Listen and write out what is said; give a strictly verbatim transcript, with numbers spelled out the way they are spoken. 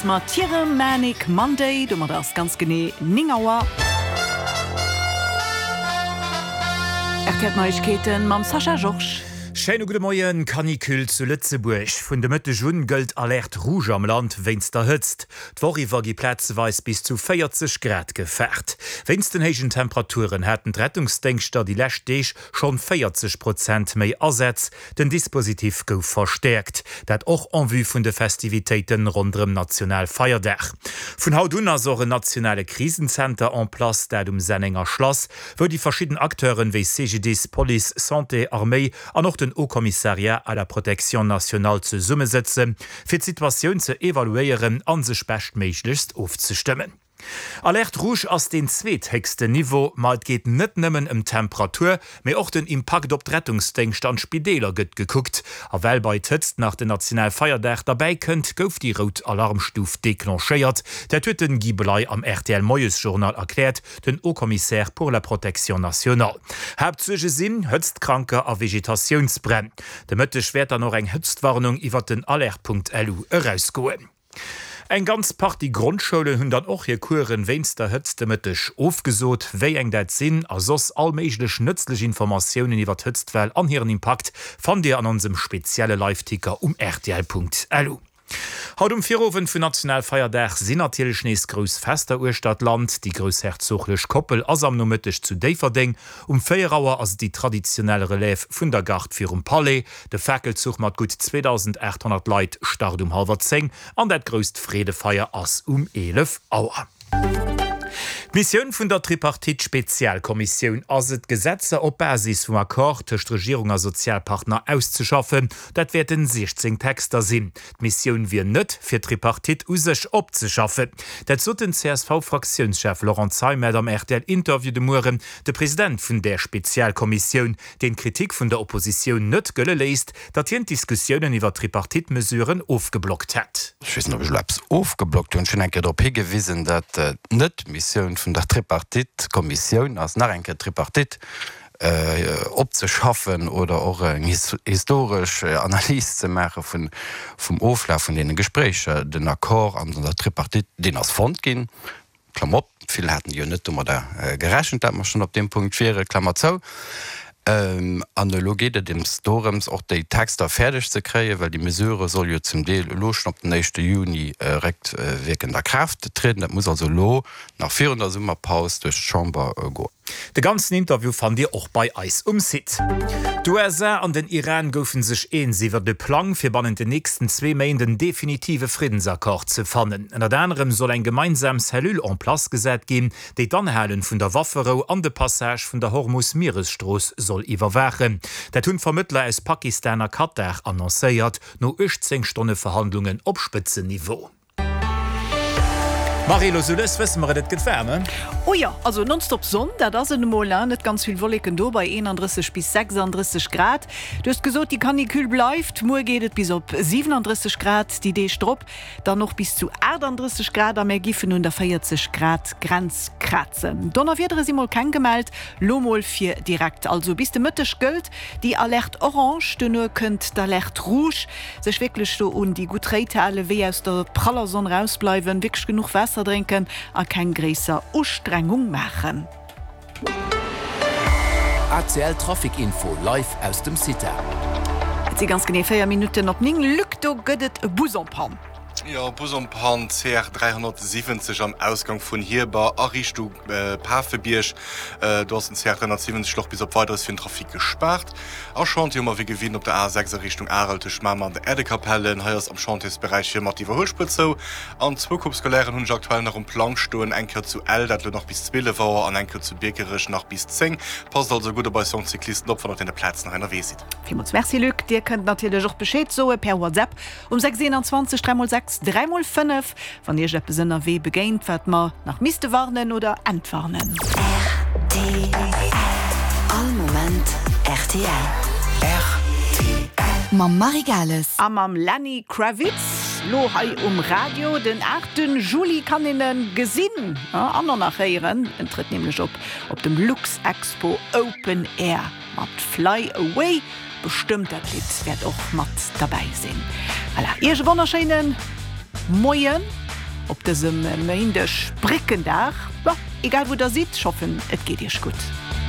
Mat hirem Manic Monday, domat ass ganz genee néng Auer. R T L Neiegkeeten mam Sascha Georges. Schéine gudde Moien. Canicule zu Lëtzebuerg, Vun de Mëtteg un gëllt Alerte rouge am Land wéinst der Hëtzt. D'Woch iwwer gi plazeweis bis zu véierzeg Grad gefaart. Wéinst den héijen Temperaturen haten d'Rettungsdéngschter déi lescht Deeg schonn véierzeg Prozent méi Asätz. Den Dispositif gouf verstäerkt, dat och en vue vun de Festivitéiten ronderëm Nationalfeierdag. Vun haut un ass och en nationale Krisenzenter en place, dat um Sennenger Schlass, wou déi verschidden Acteuren wéi C G D I S, Police, Santé, Arméi an och den Haut Commissariat à la protection nationale zesummesëtzen, fir d'Situatioun ze evaluéieren a sech beschtméiglechst ofzestëmmen. Alerte rouge ass deen zweethéchsten Niveau, ma et geet net nëmmen ëm d'Temperatur, mee och den Impakt op d'Rettungsdéngschter an d'Spideeler gëtt gekuckt. A well bei d'Hëtzt nach den Nationalfeierdag derbäi kënnt, gouf déi rout Alarmstuf declenchéiert. Dat huet den Guy Bley am R T L Moiesjournal erkläert, den Haut-Commissaire pour la protection nationale. Haaptsuerge sinn Hëtztkranker a Vegetatiounsbränn. De Mëtteg wäert dann och eng Hëtztwarnung iwwer den Alerte Punkt L U erausgoen. Eng ganz Partie Grondschoulen hunn dann och hir Coursen wéinst der Hëtzt de Mëtteg ofgesot. Wéi eng dat sinn a soss all méiglech nëtzlech Informatiounen iwwer d'Hëtztwell an hiren Impakt fannt Dir an onsem spezielle Liveticker um rtl Punkt L U. Haut um Virowend vun Nationalfeierdag sinn natierlech nees grouss Fester uechter d'Land. Déi groussherzoglech Koppel ass am Nomëtteg zu Déifferdeng. Um véier Auer ass et déi traditionell Relève vun der Garde virum Palais. De Fakelzuch mat gutt zweedausendaathonnert Leit start um hallwer zéng an dat grousst Freedefeier ass um eelef Auer. D'Missioun vun der Tripartite-Spezialkommissioun ass et, Gesetzer op Basis vum Accord tëscht Regierung a Sozialpartner auszeschaffen. Dat wäerten siechzéng Texter sinn. D'Missioun wier net, fir d'Tripartite u sech opzeschaffen. Dat sot den C S V-Fraktiounschef Laurent Zeimet am R T L-Interview de Mueren. De President vun där Spezialkommissioun, deen d'Kritik vun der Oppositioun net gëlle léisst, datt hien d'Diskussiounen iwwer Tripartite-Mesuren ofgeblockt hätt. Ech weess net, ob ech elo eppes ofgeblockt hunn. Ech hunn eng Kéier drop higewisen, datt et net d'Missioun vun der Tripartite-Kommissioun ass, nach eng Kéier d'Tripartite opzeschaffen oder och eng historesch Analys ze maache vum Oflaf vun deene Gespréicher. Den Accord an der Tripartite, deen ass fonnt ginn, Klammer op, vill haten jo net domadder gerechent, datt mer schonn op deem Punkt wieren, Klammer zou. An elo geet et ems dorëms, och déi Texter fäerdeg ze kréien, well déi Mesure soll jo zum Deel elo schonn op den éischte Juni réckwierkend a Kraaft trieden. Dat muss also elo nach virun der Summerpaus duerch d'Chamber goen. De ganzen Interview fannt Dir och bei eis um Site. D'U S A an den Iran goufe sech eens iwwer de Plang, fir bannent den nächsten zwee Méint en definitive Friddensaccord ze fannen. Ënnert anerem soll eng gemeinsam Cellule en place gesat ginn, déi d'Anhale vun der Wafferou an de Passage vun der Hormus-Mieresstrooss soll iwwerwaachen. Dat hunn d'Vermëttler aus Pakistan a Katar annoncéiert, no uechtzéng Stonne Verhandlungen op Spëtzenniveau. Marie, lo sou lues wësse mer et, et gëtt waarm, he? Oh jo, also nonstop Sonn, dat ass et emol, net ganz vill Wolleken do bei eenandrësseg bis sechsandrësseg Grad. Du hues gesot, déi Canicule bleift, muer geet et bis op siwenandrësseg Grad, déi Deeg drop dann och bis zu aachtandrësseg Grad a mär giffen un der véierzeg Grad Grenz krazen. Donnerwiedere si mol keng gemellt, lo mol fir direkt, also bis de Mëtteg gëllt déi Alerte orange, duerno kënnt d'Alerte rouge. Sech wierklech do un déi gutt Réit halen, wéi aus der praller Sonn rausbleiwen, wierklech genuch Waasser drénken a keng gréisser Ustrengung maachen. A C L Trafic Info live aus dem CITA. Et si ganz genee véier Minutten op néng. Luc, do gëtt et e Bus en panne. Jo, Bus en panne, C R dräihonnertsiwwenzeg am Ausgang vun Hierber a Richtung Pafebierg. Do ass den C R dräihonnertsiwwenzeg och bis op Weideres fir den Trafic gespaart. A Chantier hu mer wéi gewinnt op der A sechs a Richtung Arel tëscht Mamer an der Äerdekapelle. Hei ass am Chantiersberäich fir mat d'Iwwerhuelspuer zou. An zwou Coupes scolaires hunn ech aktuell nach um Plang stoen, eng Kéier zu Ell, dat elo nach bis zwielef Auer, an eng Kéier zu Biekerech nach bis zéng. Passt also gutt op eis jonk Cyclisten op, wann der op deene Plazen nach ënnerwee sidd. Villmools Merci Luc. Dir kënnt natierlech och Bescheed soe per WhatsApp um sechs eenanzwanzeg dräi mol sechs dräi mol fënnef, wann Iech eppes ënnerwee begéint, wat mer nach misste warnen oder entwarnen. R T L. All Moment R T L. R T L. Mam Marie Gales. A mam Lenny Kravitz, lo hei um Radio. Den aachte Juli kann een e gesinn an och nach héieren. En trëtt nämlech op op dem Luxexpo Open Air mat Fly Away. Bestëmmt dat Lidd wäert och mat derbäi sinn. Voilà, Iech e wonnerschéinen Moien op dësem Méindeg, Bréckendag. Bon, egal wou der sidd, ech hoffen et geet iech gutt.